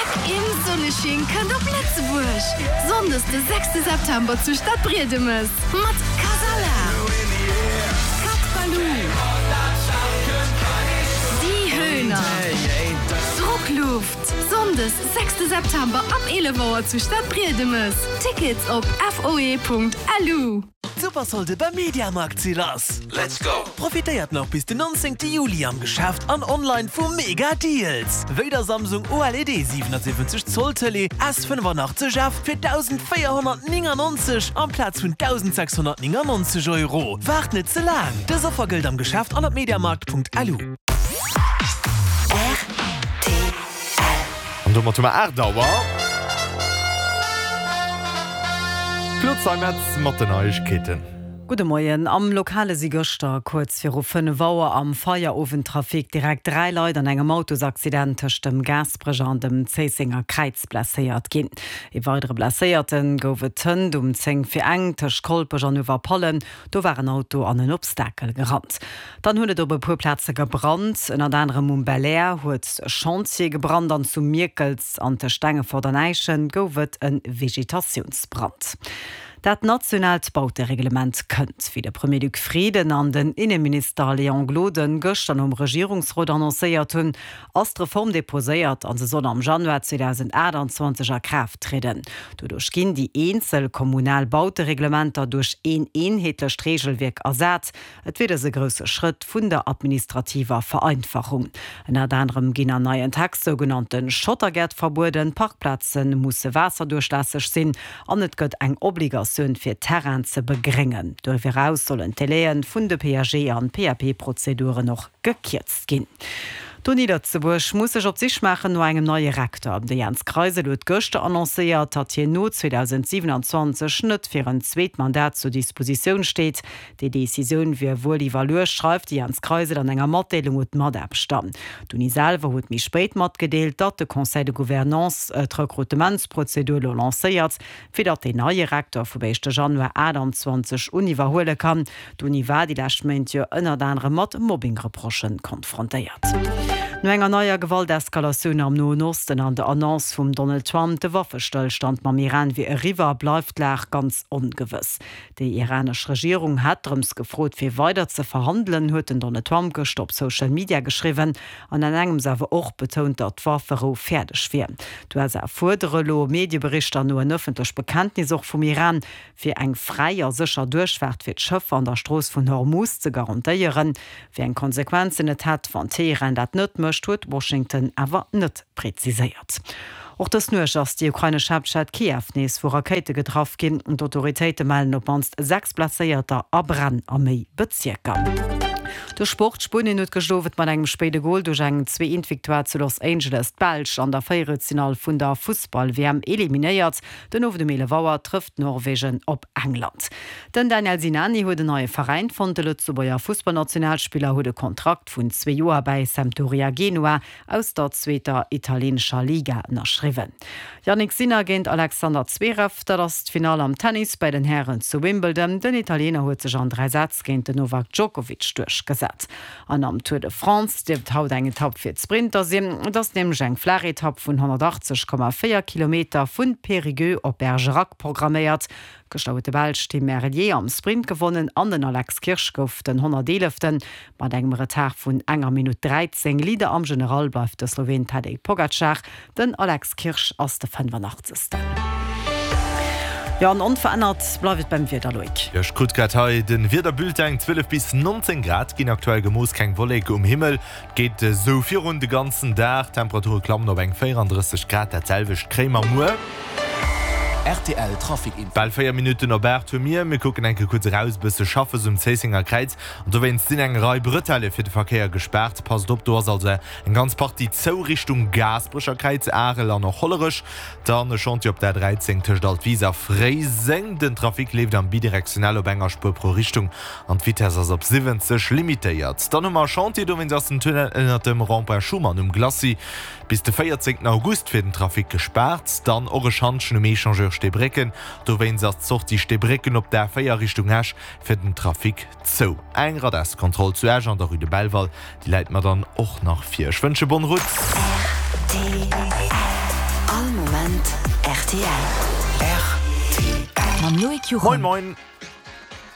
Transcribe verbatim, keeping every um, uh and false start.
Gleck im Sonnesching kënnt op Lëtzebuerg! Sonndes de sechste September zu Stadbriedemes mat Kasala, Cat Ballou, Die Höhner, Druckluft. Sonndes sechste September ab eelef Auer zu Stadbriedemes. Tickets op foe.lu. D'Supersolde beim Mediamarkt si lass! Let's go! Profitéiert nach bis den nonzéngte Juli am Geschäft an online vu mega Deals! Wéi der Samsung O L E D siwenundsiwwenzeg Zoll Tëlee S fënnefanachtzeg F fir dausendvéierhonnertnéngannonzeg amplaz vun dausendsechshonnertnéngannonzeg Euro. Waart net ze laang! Dës Offer gëllt am Geschäft an op mediamarkt.lu. An domat hu mer aacht Auer. D'Claude Zeimetz mat den Neiegkeeten. Gudde Moien. Am Lokale si gëschter kuerz viru fënnef Auer am Feierowendtrafic direkt dräi Leit an engem Autosaccident tëscht dem Gaasperecher an dem Zéissenger Kräiz blesséiert ginn. Ee weidere Blesséierte gouf et hënt um zéng vir eng tëscht Kolpech an Uewerpallen. Do war en Auto an en Obstakel gerannt. Dann huet et op e puer Plaze gebrannt. Ënnert anerem um Belair huet e Chantier gebrannt an zu Mierkels an tëscht Stengefort an Äischen gouf et e Vegetatiounsbrand. Dat nationaalt Bautereglement kënnt, wéi de Premier Luc Frieden an den Inneminister Léon Gloden gëschter nom Regierungsrot annoncéiert hunn, ass d'Reform deposéiert an se soll am Januar zweedausendaachtanzwanzeg a Kraaft trieden. Doduerch ginn déi eenzel kommunal Bautereglementer duerch een eenheetlecht Reegelwierk ersat. Et wier dës e grousse Schrëtt vun der administrativer Vereinfachung. Ënnert anerem ginn an neien Text sougenannte Schottergäert verbueden, Parkplaze musse waasserduerchlässeg sinn an et gëtt eng Obligatioun fir Terrainen ze begréngen. Doriwwer eraus sollen d'Délaië vun de P A G an P A P-Prozeduren och gekierzt ginn. D'Uni Lëtzebuerg muss sech op d'Sich maachen no engem neie Rektor. De Jens Kreisel huet gëschter annoncéiert, datt hien no zweedausendsiewenundzwanzeg net fir en zweet Mandat zur Dispositioun steet. Déi Decisioun wier wuel iwwerluecht, schreift de Jens Kreisel an enger Matdeelung un d'Mataarbechter. D'Uni selwer huet méi spéit matgedeelt, datt de Conseil de Gouvernance d'Rekrutementsprozedur elo lancéiert, fir datt deen neie Rektor vum éischte Januar achtundzwanzeg un iwwerhuele kann. D'Uni war déi lescht Méint jo ënnert anerem mat Mobbing-Reprochen konfrontéiert. No enger neier Gewalteskalatioun am Noen Osten an der Annonce vum Donald Trump, de Waffestëllstand mam Iran wier eriwwer, bleift d'Lag ganz ongewëss. Déi iranesch Regierung hätt drëms gefrot, fir weider ze verhandelen, huet den Donald Trump gëschter op Social Media geschriwwen an an engems awer och betount, datt d'Wafferou fäerdeg wier. D'U S A fuerdere elo Medieberichter no en ëffentlech Bekenntnis och vum Iran, fir eng fräi a sécher Duerchfaart fir d'Schëffer an der Strooss vun Hormuz ze garantéieren. Wéi eng Konsequenzen et hätt, wann Teheran dat net mécht, huet Washington awer net präziséiert. Och dës Nuecht ass déi ukrainesch Haaptstad Kiew nees vu Rakéite getraff ginn. D'Autoritéite mellen op d'mannst sechs Blesséierter a Bränn a méi Bezierker. De Sport Spuenien huet gëschter Owend mat engem spéide Gol duerch eng zwee-eent-Victoire zu Los Angeles d'Belsch an der Véierelfinall vun der Fussball-W M eliminéiert. Den Owend um eelef Auer trëfft Norwegen op England. Den Daniel Sinani huet en neie Veräin fonnt. De Lëtzebuerger Fussballnationalspiller huet e Kontrakt vun zwee Joer bei Sampdoria Genua aus der zweeter italienescher Liga ënnerschriwwen. Jannik Sinner géint Alexander Zverev, dat ass d'Finall am Tennis bei den Hären zu Wimbledon. Den Italiener huet sech an dräi Sätz géint den Novak Djokovic duerchgesat. An am Tour de France dierft haut eng Etapp fir d'Sprinter sinn. Et ass nämlech eng flaach Etapp vun honnertachtzeg Komma véier Kilometer vun Périgueux op Bergerac programméiert. Gëschter huet de Belsch Tim Merlier am Sprint gewonnen an den Alex Kirsch gouf den honnerteeleften mat engem Retard vun enger Minutt dräizéng. Leader am General bleift de Slowen Tadej Pogacar. Den Alex Kirsch ass de fënnefundachtzegsten. Ja, an onverännert bleift et beim Wieder, Loïc. Jo, ech krut grad hei den Wiederbulletin. Zwielef bis neunzehn Grad ginn aktuell gemooss, keng Wollek um Himmel. Geht esou virun de ganzen Dag. Temperature klammen op eng véierunddrësseg Grad, dat selwecht kréie mer muer. R T L Trafic Info. Bal véier Minutten op aacht hu mir. Mir kucken enke kuerz eraus, bësse schaffe um Zéissenger Kräiz. An dowéinst sinn eng Rei Bretelle fir de Verkéier gespaart. Passt op, do ass also eng ganz Partie zou Richtung Gaasperecher Kräiz, Arel an och Hollerech. Dann e Chantier op der dräizéng tëscht Altwis a Fréiseng. Den Trafic leeft am bidirektionell op enger Spuer pro Richtung an d'Vitesse ass op siwwenzeg limitéiert. Dann hu mer e Chantier, dowéinst ass den Tunnel ënnert dem Rond-point Schuman um Glacis bis de véierzéngten August fir den Trafic gespaart. Dann och e Schantjen um Échangeur Steebrécken. Dowéinst ass d'Sortie Steebrécken op der véier Richtung Esch fir den Trafic zou. Eng Radarskontroll zu Esch an der Rue de Belval, déi läit mer dann och nach vir. Ech wënsche bonne route. R T L. Rtl. Mam Loïc Juchem. Moin moin,